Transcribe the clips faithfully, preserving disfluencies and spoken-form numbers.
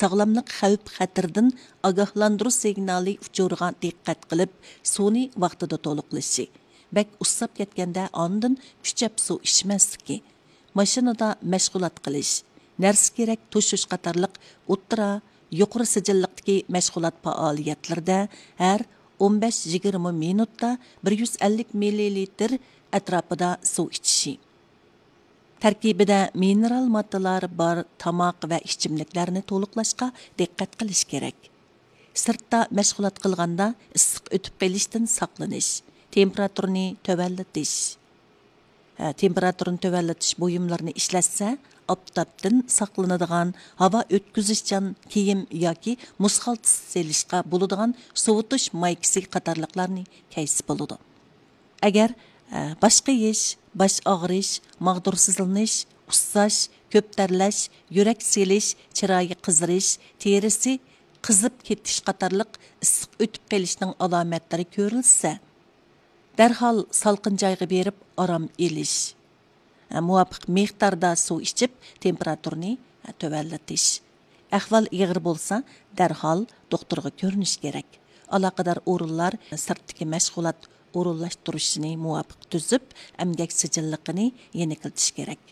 ساغلاملىق خەۋپ خەتىرىدىن ئاگاھلاندۇرۇش سىگنالى ئۇچۇرىغا دىققەت قىلىپ، سۇنى ۋاقتىدا تولۇقلىشى، بەك ئۇسساپ كەتكەندە ئاندىن كۈچەپ سۇ ئىچمەسلىكى، ماشىنىدا مەشغۇلات قىلىش، نەرسە كېرەك توشۇش قاتارلىق ئوتتۇرا، يۇقىرى سىجىللىقتىكى مەشغۇلات پائالىيەتلىرىدە ھەر ئون بەش يىگىرمە مىنۇتتا بىر يۈز ئەللىك مىللىلىتىر ئەتراپىدا سۇ ئىچىشى. تەركىبىدە مىنېرال ماددىلار بار تاماق ۋە ئىچىملىكلەرنى تولۇقلاشقا دىققەت قىلىش كېرەك. سىرتتا مەشغۇلات قىلغاندا ئىسسىق ئۆتۈپ قېلىشتىن ساقلىنىش، تېمپېراتۇرىنى تۆۋەنلىتىش. ھە، تېمپېراتۇرىنى تۆۋەنلىتىش بۇيۇملىرىنى ئىشلەتسە، ئاپتاپتىن ساقلىنىدىغان، ھاۋا ئۆتكۈزۈشچان كىيىم ياكى مۇز خالتىسى سېلىشقا بولىدىغان سوۋۇتۇش مايكىسى قاتارلىقلارنى كەيسە بولىدۇ. ئەگەر، ئە، باش قېيىش، باش ئاغرىش، ماغدۇرسىزلىنىش، ئۇسساش، كۆپ تەرلەش، يۈرەك سېلىش، چىرايى قىزىرىش، تېرىسى قىزىپ كېتىش قاتارلىق ئىسسىق ئۆتۈپ قېلىشنىڭ ئالامەتلىرى كۆرۈلسە، دەرھال سالقىن جايغا بېرىپ ئارام ئېلىش. مۇۋاپىق مىقداردا سۇ ئىچىپ، تېمپېراتۇرىنى تۆۋەنلىتىش. ئەھۋال ئېغىر بولسا، دەرھال دوختۇرغا كۆرۈنۈش كېرەك. ئالاقىدار ئورۇنلار سىرتتىكى مەشغۇلات ئورۇنلاشتۇرۇشىنى مۇۋاپىق تۈزۈپ، ئەمگەك سىجىللىقىنى يېنىكلىتىش كېرەك.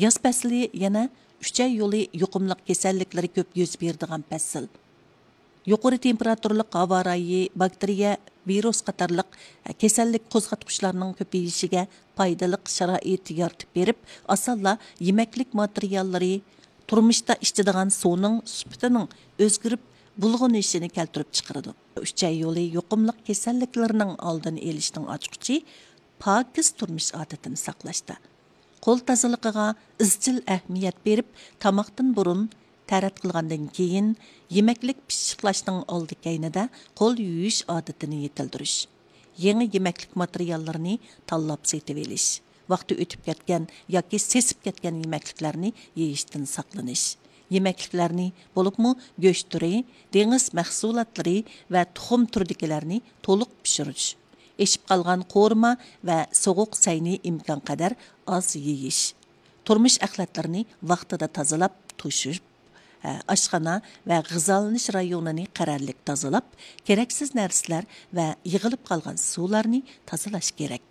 ياز پەسلى يەنە ئۈچەي يولى يۇقۇملۇق كېسەللىكلىرى كۆپ يۈز بېرىدىغان پەسىل. يۇقىرى تېمپېراتۇرىلىق ھاۋا رايى، باكتېرىيە، ۋىرۇس قاتارلىق كېسەللىك قوزغاتقۇچلارنىڭ كۆپىيىشىگە پايدىلىق شارائىت يارىتىپ بېرىپ، ئاسانلا يېمەكلىك ماتېرىياللىرى، تۇرمۇشتا ئىچىدىغان سۇنىڭ سۈپىتىنىڭ ئۆزگىرىپ بۇلغىنىشىنى كەلتۈرۈپ چىقىرىدۇ. ئۈچەي يولى يۇقۇملۇق كېسەللىكلىرىنىڭ ئالدىنى ئېلىشنىڭ ئاچقۇچى پاكىز تۇرمۇش ئادىتىنى ساقلاشتا. قول تازىلىقىغا ئىزچىل ئەھمىيەت بېرىپ، تاماقتىن بۇرۇن، تەرەت قىلغاندىن كېيىن، يېمەكلىك پىششىقلاشنىڭ ئالدى كەينىدە قول يۇيۇش ئادىتىنى يېتىلدۈرۈش. يېڭى يېمەكلىك ماتېرىياللىرىنى تاللاپ سېتىۋېلىش. ۋاقتى ئۆتۈپ كەتكەن ياكى سېسىپ كەتكەن يېمەكلىكلەرنى يېيىشتىن ساقلىنىش. يېمەكلىكلەرنى، بولۇپمۇ گۆش تۈرى، دېڭىز مەھسۇلاتلىرى ۋە تۇخۇم تۈرىدىكىلەرنى تولۇق پىشۇرۇش. ئېشىپ قالغان قورۇما ۋە سوغۇق سەينى ئىمكانقەدەر ئاز يېيىش. تۇرمۇش ئەخلەتلىرىنى ۋاقتىدا تازىلاپ توشۇش. ھە، ئاشخانا ۋە غىزالىنىش رايونىنى قەرەللىك تازىلاپ، كېرەكسىز نەرسىلەر ۋە يىغىلىپ قالغان سۇلارنى تازىلاش كېرەك.